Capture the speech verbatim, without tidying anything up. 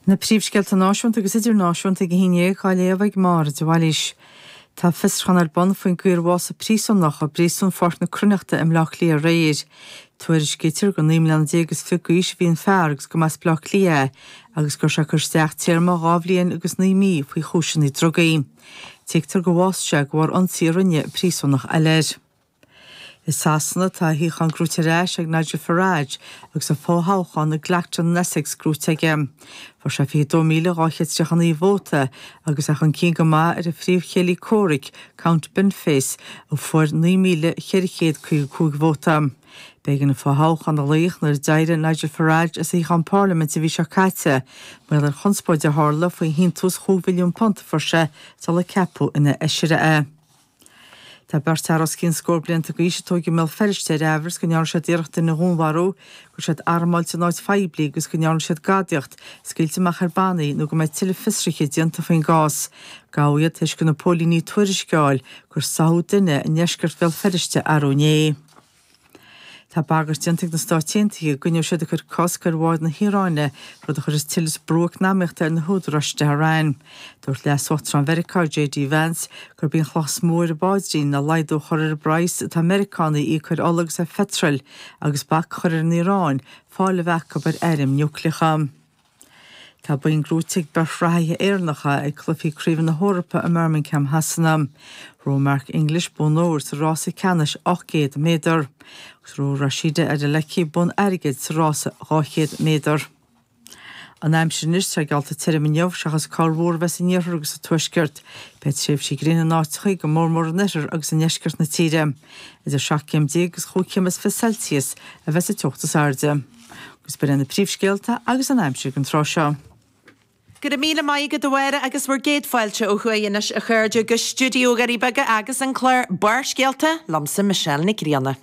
Na príomhscéalta náisiúnta agus idirnáisiúnta ag a haon déag á léamh ag Máire de Bhailís. Tá fiosrúchán ar bun faoin gcaoi ar bhásaigh príosúnach i bpríosún Pháirc na Cruithneachta i mBleá Cliath aréir. Tuairiscítear gur naoi mbliana déag is fiche d'aois a bhí an fear agus go mba as Bleá Cliath é agus go raibh sé ag cur isteach téarma dhá bhliain agus naoi mí faoi chúiseanna drugaí. Tuigtear gur bhásaigh sé de bharr ionsaí a rinne príosúnach eile air. I Sasana tá a shuíochán gnóite ar ais ag Nigel Farage agus an fothoghchán i gClacton in Essex gnóite aige. Fuair sé fiche dó míle dhá chéad tríocha naoi vóta agus é chun cinn go maith ar a phríomhchéile comhraic, Count Binface, a fuair naoi míle ceithre chéad caoga cúig vóta. B'éigean an fothoghchán a ghlaoch nuair a d'éirigh Nigel Farage as a shuíochán parlaiminte an mhí seo caite, mar gheall ar chonspóid a tharla faoi shíntiús chúig mhilliún punt a fuair sé sular ceapadh ina fheisire é. Tá beirt fhear os cionn scór blianta d'aois a tógadh i mBéal Feirste ar aimhreas go ndearna siad iarracht duine a dhúnmharú, go raibh siad armáilte in áit phoiblí agus go ndearna siad gadaíocht, scaoilte amach ar bannaí nó go mbeidh tuilleadh fiosruithe déanta faoin gcás. Gabhadh iad tar éis do na póilíní tuairisc a fháil gur sáthadh duine i ndeisceart Bhéal Feirste arú inné. Tá bagairt déanta ag na Stáit Aontaithe go gcoinneoidh siad ag cur cosc ar bháid na hIaráine, rud a chuirfeas tuilleadh brú eacnamaíochta ar na húdaráis i dTehran. Dúirt Leas-Uachtarán Mheiriceá J D Vance gurb í an chloch is mó ar a bpaidrín ná laghdú a chur ar an bpraghas atá Meiriceánaigh a íoc ar ola agus ar pheitreal agus bac a chur ar an Iaráin fáil a bheith acu ar airm núicléacha. Tá boinn gnóite ag beirt reathaithe Éireannacha ag cluichí craoibhe na hEorpa i mBirmingham Shasana. Ghnóthaigh Mark English bonn óir sa rása ceannais ocht gcéad méadar. Agus ghnóthaigh Rhasidat Adeleke bonn airgid sa rása dhá chéad méadar. An aimsir anois, tá geallta tirim inniu seachas corrmhúr a bheith san iarthar agus sa tuaisceart. Beidh tréimhsí gréine in áiteacha go mór mór in oirthear agus i ndeisceart na tíre. Idir seacht gcéim déag agus chúig chéim is fiche Celsius a bheas an teocht is airde. Agus b'in na príomhscéalta agus an aimsir don tráth seo. Go raibh míle maith agat a Mháire agus bhur gcéad fáilte ó thuaidh anois a chairde go stiúideo Dhoirí Beaga agus an clár Barrscéalta liomsa Michelle Nic Grianna.